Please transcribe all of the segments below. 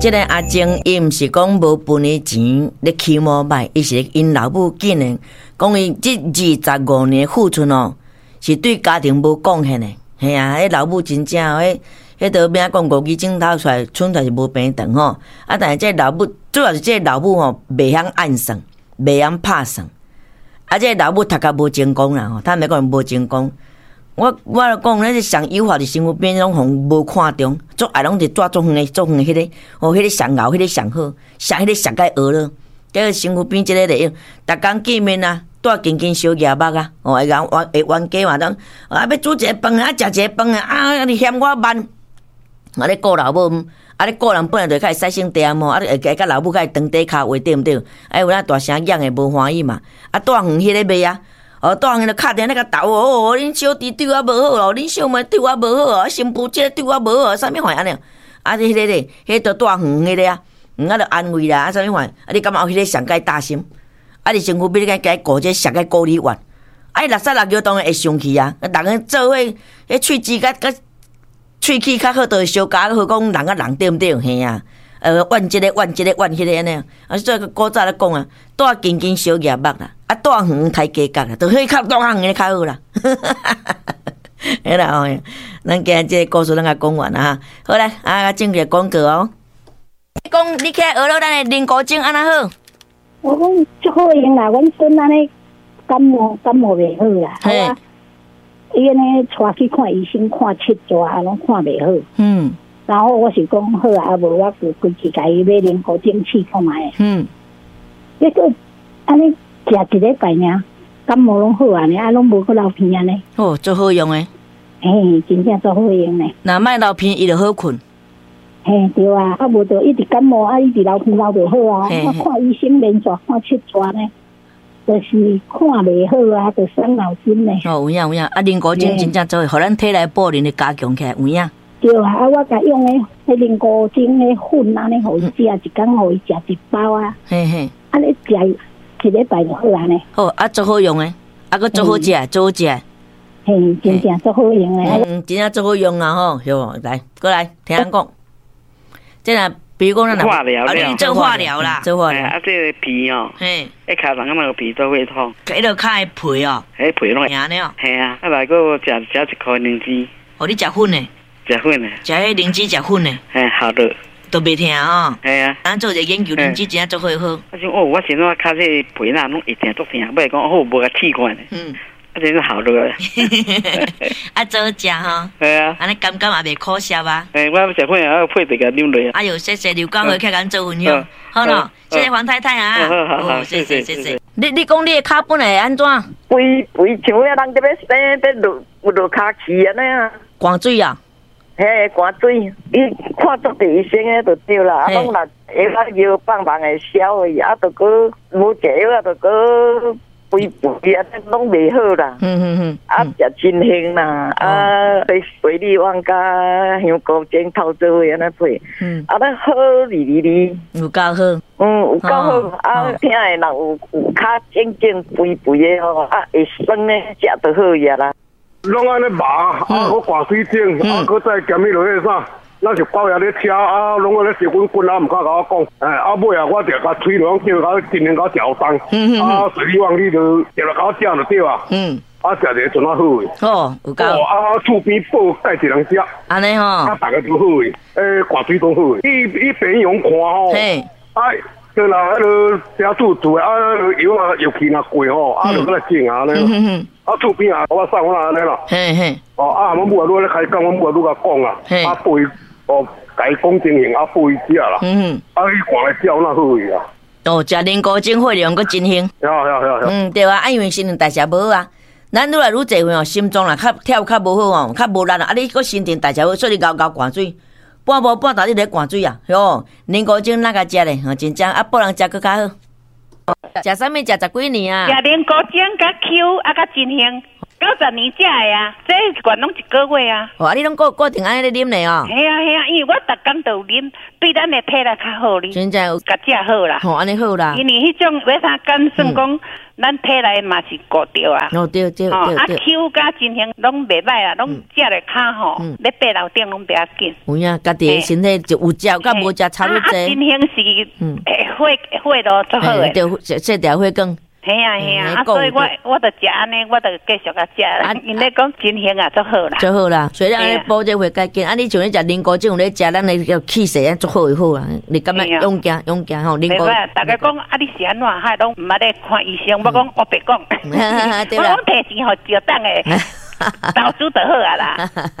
這个阿靜伊毋是講無分伊錢咧起摩擺，伊是𪜶老母竟然講伊這25年付出哦，是對家庭無貢獻的。嘿啊，彼老母真正彼彼著欲講五支指頭出來，伸出來是無平長吼。啊，但是這個老母主要是這個老母吼，袂曉按算，袂曉拍算。啊，這個老母讀較無成功啦吼，坦白講無成功。我就講，咱是上優化佇身軀邊攏予無看重，足愛攏是蹛足遠的，足遠的彼个，哦，彼个上𠢕，彼个上好，上彼个上較學咯。結果身軀邊這个會用，逐工見面啊，蹛緊緊相蜈目啊，哦，會共冤會冤家嘛，當啊欲煮一个飯啊，食一个飯啊，啊你嫌我慢，啊咧顧老母，啊咧顧人本來就較會使省點吼，啊你會會佮老母較會長短跤話對毋對？啊有影大聲嚷會無歡喜嘛，啊蹛遠彼个袂啊。哦，蹛遠就敲電話共鬥哦，恁小弟對我無好哦，恁小妹對我無好哦，新婦這个對我無好，啥物款按呢？啊，彼个咧，彼个蹛遠彼个啊，啊就安慰啦，啊啥物款？啊你感覺彼个上蓋大心？啊你身軀邊你共顧這上蓋顧你怨？啊伊六三六叫當然會生氣啊！逐个做伙，彼喙舌佮佮喙齒較好，就會相加好講人佮人對毋對？嘿啊！怨這個怨這個怨彼个按呢？啊，所以古早咧講啊，蹛近近相蜈目啦，啊蹛遠刣雞角啦，就彼較蹛較遠的較好啦。好啦吼，咱今日這個故事咱共講完啦哈。好來，啊，進入廣告哦。你講你起來學了咱的靈菇精按怎好？我講足好用啦，阮孫按呢感冒感冒袂好啦，啊，伊按呢帶去看醫生，看七逝攏看袂好。然後我是講好啊，無我就規氣共伊買靈菇精試看覓。結果按呢食一禮拜爾，感冒攏好啊，啊攏無閣流鼻按呢。哦，足好用的。嘿，真正足好用的。若莫流鼻，伊就好睏。嘿，對啊，啊無就一直感冒，啊一直流鼻流袂好啊，我看醫生連續看七逝呢，就是看袂好啊，就傷腦筋呢。哦，有影有影，啊靈菇精真正做，予咱體內補能會加強起來，有影。對啊，啊我共用的彼靈菇精的粉按呢，予伊食，一工予伊食一包啊。按呢食一禮拜就好啊呢。好，啊足好用的，啊閣足好食，足好食。嘿，真正足好用的。嗯，真正足好用啊吼，好，來過來聽人講。這若比如講咱化療啊，你做化療啦，做化療。啊，這個鼻哦，一尻人那個鼻都會痛。彼落跤的皮哦，彼皮攏會。疼了。嘿啊，啊來閣食食一箍靈芝。哦，你食粉的？食粉的。食彼靈芝食粉的。嘿，好的。都袂疼哦。嘿啊。咱做一個研究，靈芝真正足好好。我想哦，我先怎尻這個皮若攏會疼足疼，尾講好無共試看咧。啊，真是好落。啊，做食吼。係啊。按呢感覺也袂苦澀啊。欸，我食粉啊，配著共啉落啊。哎喲，謝謝劉光輝，起來咱做分享。好咯，謝謝黃太太啊。好好好，謝謝謝謝。你講你的跤本來會按怎？肥肥像遐人佇咧生，欲落落跤去按呢啊。灌水啊？嘿，灌水，伊看足濟醫生的就對啦，啊，攏若藥仔藥放放會消去，啊，就閣無食藥啊，就閣肥肥啊，攏袂好啦。啊，食真興啦，啊，配水蜜丸佮香菇精透做伙按呢配。啊，咱好哩哩哩。有夠好。嗯，有夠好。啊，疼的人有有跤整整肥肥的吼，啊，會酸的，食就好呀啦。攏按呢麻，啊，閣掛水腫，啊，閣再兼彼落彼啥，咱是高壓咧車，啊，攏按呢燒滾滾啊，毋敢共我講，哎，啊，尾啊，我就共喙攏叫共盡量共嚼動，啊，水蜜丸你就定來共我食就對啊，啊，食一個陣仔好的。哦，有夠。哦，啊，厝邊報蓋一人食。按呢吼。啊，逐个都好的，欸，掛水都好的。伊伊病院看吼。啊，對啦，彼落寫注注的，啊，藥啊藥期若過吼，啊，就閣來種啊按呢。啊，厝邊啊，我送我按呢啦。哦，啊，阮母啊，愈咧開講，阮母啊愈共講啊。啊，報伊哦，共伊講情形，啊，報伊食啦。啊，伊看來食哪好去啊？哦，食靈菇精血量閣真興。嗯，對啊，啊，因為新陳代謝無好啊。咱愈來愈濟歲哦，心臟若較跳較無好哦，較無力啊，你閣新陳代謝無，所以你𠢕𠢕灌水，半晡半晝你咧灌水啊，喲，靈菇精哪共食咧？吼，真正啊，報人食閣較好。食啥物？食十幾年啊？食靈菇精佮 Q 啊，佮真興。90年食的啊，這原攏一個月啊。哦，啊，你攏固固定按呢咧啉咧哦。嘿啊嘿啊，因為我逐工都有啉，對咱的體力較好哩。真正有，共食好啦。吼，按呢好啦。因為彼種維他苷算講，咱體內嘛是顧著啊。哦，對對對對。啊，口佮情形攏袂䆀啊，攏食咧較吼，咧爬樓頂攏袂要緊。有影，家己的身體就有食佮無食差不濟。啊，情形是血血路足好的。對，這條血管。嘿啊嘿啊，啊，所以我我就食按呢，我就繼續啊食啦。𪜶咧講情形啊，足好啦。足好啦，所以按呢補這血較緊。啊，你像你食靈菇，這種咧食，咱的叫氣勢啊，足好會好啊。你感覺勇健勇健吼？靈菇。大家講啊，你是按怎？還攏毋捌咧看醫生？我講我白講，我講提錢予石董的投資就好啊啦。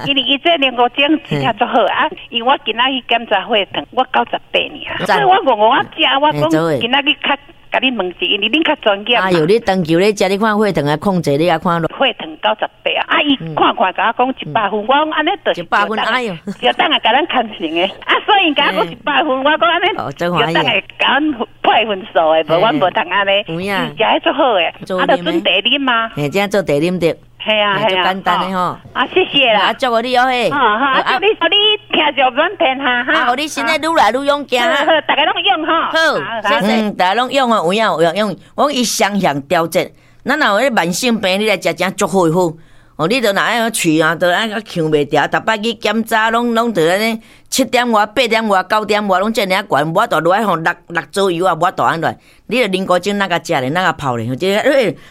因為伊這靈菇精真正足好啊。因為我今仔去檢查血糖，我98爾。所以我戇戇仔食，我講今仔日較。共你問一下，因為恁較專業。哎喲，你長期咧食，你看血糖啊控制，你也看落。血糖98啊！啊，伊看看共我講100分，我講按呢就是100分，哎喲，就等下共咱牽成的。啊，所以共我講100分，我講按呢，就等下共阮配分數的，無阮無通按呢。有影。食彼足好的，啊，就準茶啉啊。嘿，這做茶啉著。嘿啊，嘿啊，簡單的吼。啊，謝謝啦。啊，祝福你哦嘿。好，啊，祝你，你聽著滿天下哈。啊，予你身體愈來愈勇健。好，大家攏用吼。好，謝謝。大家攏用哦，有影有影用。我講伊雙向調節，咱若有彼慢性病，你來食誠足好的好。哦，你著若愛喙啊，著愛嗆袂牢，逐擺去檢查，攏攏著按呢七點外、八點外、9點外，攏遮爾仔懸，無法度落來吼六六左右啊，無法度按落。你著靈菇精哪共食咧，哪共泡咧，這個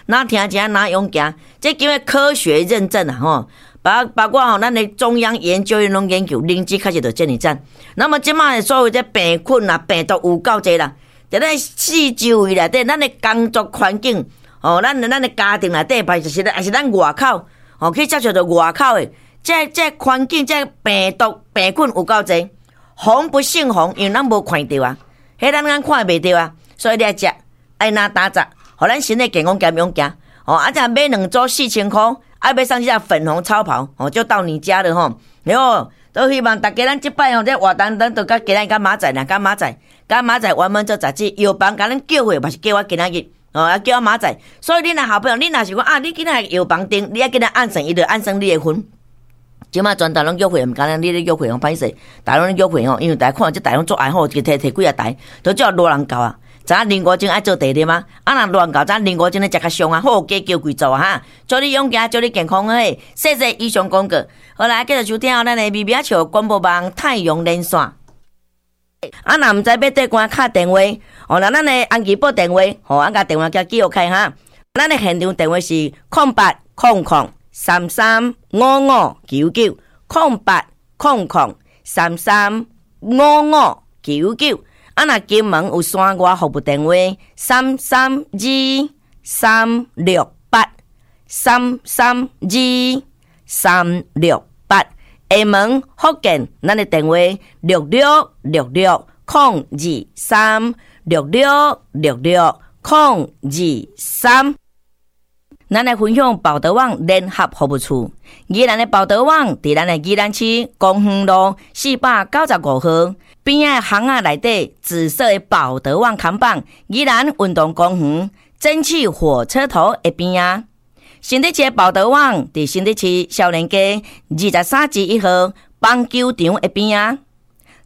哪聽這哪勇健，這經過科學認證啊吼，包包括吼咱的中央研究院攏研究，靈芝確實著遮爾讚。那麼這擺所有這病菌啊、病毒有夠濟啦，佇咱四周圍內底，咱的工作環境，吼，咱咱的家庭內底，還是還是咱外口。哦，去接觸著外口的，這這環境，這病毒病菌有夠濟，防不勝防，因為咱無看著啊，彼咱眼看袂著啊，所以你愛食，愛若打雜，予咱身體健康兼勇健。哦，啊，這買兩組4000箍，啊，欲送這粉紅超跑，哦，就到你家了吼。然後都希望大家咱這擺吼，這活動咱都佮今仔日佮明仔載啦，佮明仔載，佮明仔載原本做雜誌，藥房共咱叫貨，嘛是叫我今仔日。哦，啊叫我明仔載，所以恁若好朋友，恁若是講啊，你今仔藥房訂，你愛今仔按算，伊就按算你的份。這馬全台攏約會，毋敢若你咧約會吼，歹勢，大家攏約會吼，因為大家看這台攏足愛好，一摕摕幾啊台，都叫羅人到啊。知影靈菇精愛做茶啉啊？啊，若羅人到，知影靈菇精咧食較俗啊？好，加叫幾組啊？哈，祝你勇健，祝你健康嘿！謝謝以上廣告。好來，繼續收聽咱的微微仔笑廣播網太陽連線。啊，若毋知欲綴關敲電話，哦，那咱的安吉撥電話，吼，按共電話共記錄開哈。咱的現場電話是0800335599，0800335599。啊，若金門有山外服務電話，332368，332368。廈門福建，咱的電話6666023，6666023。咱來分享寶德網聯合服務處，宜蘭的寶德網佇咱的宜蘭市公園路495號邊仔巷仔內底紫色的寶德網看板，宜蘭運動公園蒸汽火車頭的邊仔。新竹市的寶德網佇新竹市少年街23之1號棒球場的邊仔。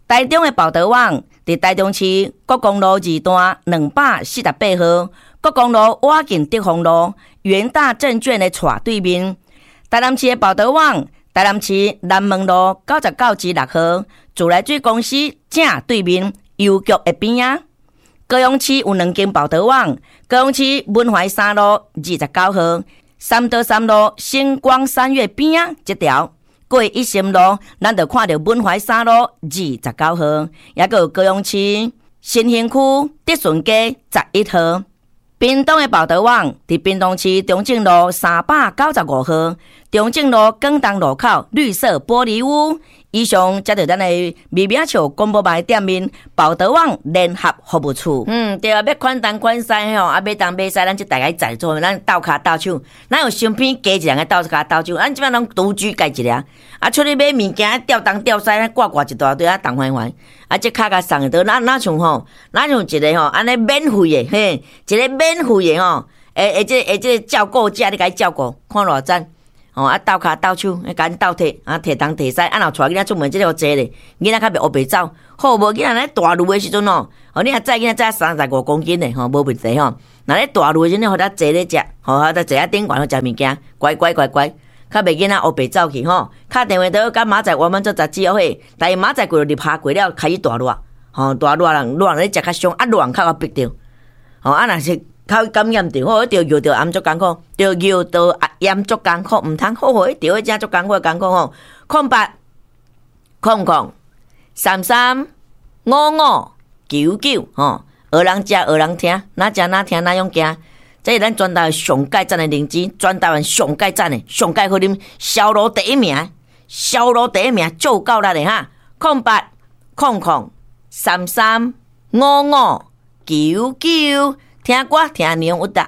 台中的寶德網佇台中市國光路二段248號國光路倚近德豐路元大證券的斜對面。台南市的寶德網，台南市南門路99之6號自來水公司正對面郵局的邊仔。高雄市有兩間寶德網，高雄市文懷三路29號三多三路星光三月邊仔這條過一心路，咱就看著文懷三路29號，抑閣有高雄市新興區德順街11號。屏東的寶德網佇屏東市中正路395號，中正路廣東路口綠色玻璃屋。以上才著咱的微微仔笑廣播網店面寶德網聯合服務處。嗯，對啊，欲款東款西吼，啊，買東買西，咱這大家在做，咱鬥跤鬥手，咱有身邊加一人來鬥跤鬥手，咱這擺攏獨居家一个，啊，出去買物件，吊東吊西，掛掛一大堆啊，重煩煩。啊，這較共送的，哪哪像吼，哪像一个吼，按呢免費的，嘿，一個免費的吼，會會這會這個照顧者，你共伊照顧，看偌讚。吼啊鬥跤鬥手，共𪜶鬥提啊提東提西，啊若帶囡仔出門，這個濟咧，囡仔較袂烏白走。好無囡仔咧大路的時陣哦，吼你若載囡仔載35公斤的吼，無問題吼。若咧大路的時陣，予他坐咧食，吼，予他坐喺頂懸食物件，乖乖乖乖，較袂囡仔烏白走去吼。敲電話到佮明仔載我們做雜誌會，但是明仔載過入夏過了開始大熱，吼大熱人熱人咧食較傷，啊熱較會逼著，吼啊若是較感染著，吼，著尿道炎足艱苦，著尿道炎足艱苦，毋通好好，著彼只足艱苦艱苦吼。0800 3355 99吼，學人食，學人聽，哪食哪聽哪樣行。這是咱全台灣上蓋讚的靈芝，全台灣上蓋讚的，上蓋好啉，銷路第一名，銷路第一名，做夠力的哈。0800 3355 99，聽歌聽娘有得。